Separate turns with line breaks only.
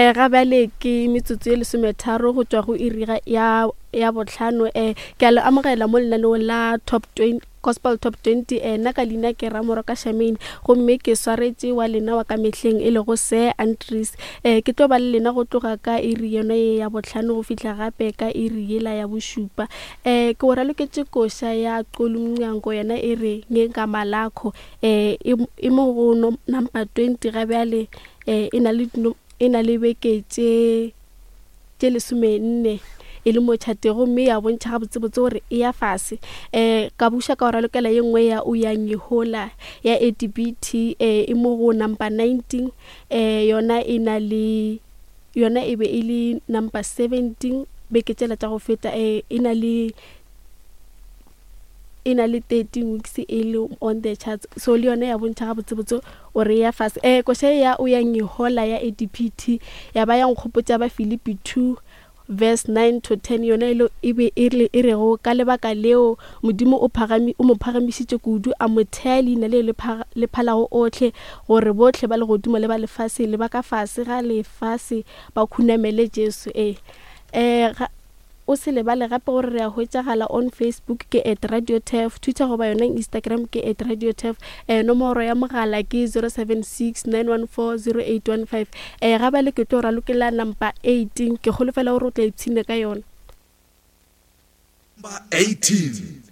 Um ga bjale ke metsotso ye lesometharo go tšwa go iri ya ya bohlano. Um ke a le amogela mo lenaneong la Top 20 Gospel Top 20. Um nna ka leina ke Ramoroka Shamane gomme ke swaretše wa lena wa ka mehleng e lego Sir Andries. Um ke tlo ba le lena go tloga ka iri yona ye ya bohlano go fihla gape ka iri yela ya bošupa. Um ke o raloketše koša ya Xoli Mnyango yona e re Ngegama Lakho. Um e mo go number 20 ga bjale. um e na le e na le beke tše tše lesomenne e le mo tšhateng gomme ya bontšha gabotsebotse gore e ya fase. Um ka buša ka go ralokela ye nngwe ya o ya nyehola ya ADBT um e mo go number 19 um yona e na le yona e be e le number 17 beke tšela tša go feta um e na le e na le 13 weeks e le on the charts so le yone ya bontšha gabotsebotse o re ya fase um koša ya o ya ngihola ya adpt ya ba ya nkgopotša ba Filipi 2 verse 9 to 10 yona e e be e re e rego ka lebaka leo Modimo o phagami o mo phagamišitše kudu a mo thea leina le le phalago ohle gore bohle ba legodimo le ba lefase le ba ka fase ga lefase ba khunamele Jesu ee um O se lebale gape gore re a hwetšagala on Facebook ke at Radio Turf, Twitter goba yona Instagram ke at Radio Turf. Eh, nomoro ya mogala ke 076 914 0815. Eh, ga bjale ke tlo ralokela number 18. Ke kgolofela gore o tla ipshina ka yona.
Number 18.